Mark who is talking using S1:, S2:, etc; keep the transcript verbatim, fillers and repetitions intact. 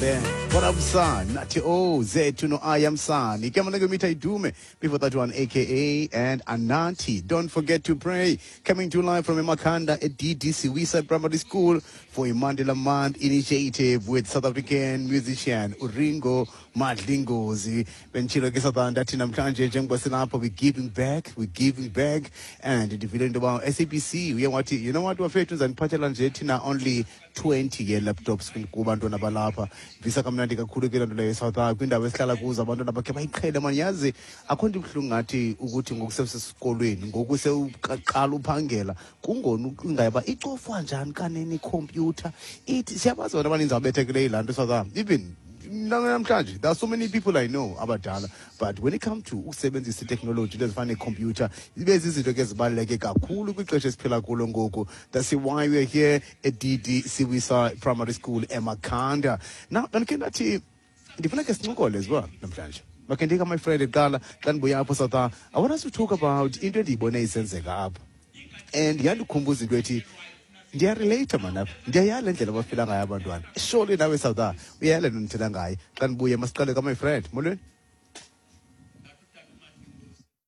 S1: There. What up, son? Nathi O Zethu no I am son. Igama langu Idume before that one aka and Anati. Don't forget to pray. Coming to live from Emakhanda at DD Siwisa Primary School for a Mandela Month initiative with South African musician uRingo Madlingozi. Benditshilo ke South ndathi namhlanje njengoba silapha we giving back, we giving back and ndivile into yoba SABC uye wathi you know what bafethu ndizaniphathela nje thina only twenty ye-laptops kubantwana balapha visa kamnandi kakhulu ke loo nto leyo eSouth Africa kwiindawo esihlala kuzo abantwana bakhe bayiqhele mani yazi akho nto ibuhlungu ngathi ukuthi ngoku sewusesikolweni ngoku sewuqala uphangela kungona ucingayo uba icofwa njani kanene ikhompyutha ithi siyabazi abantu abaninzi ababethekileyo yilaa nto South Africa even namhlanje there are so many people I know abadala but when it comes to ukusebenzisa itechnology into ezifana nekhompyutha ibe zizinto ke ezibaluleke kakhulu kwixesha esiphila kulo ngoku that's why we are here at DD Siwisa Primary School eMakhanda now ndandikhe ndathi ndifuna ke sincokole as well namhlanje makhe ndika my friend kuqala xa ndibuya apho South I want us to talk about into endiyibone isenzeka apha and yandikhumbuza into ethi ndiyarelate man apha ndiyayala indlela abafila ngayo abantwana surely nawe South uyayala nto ndithetha ngayo xa ndibuye masiqale ka my friend molweni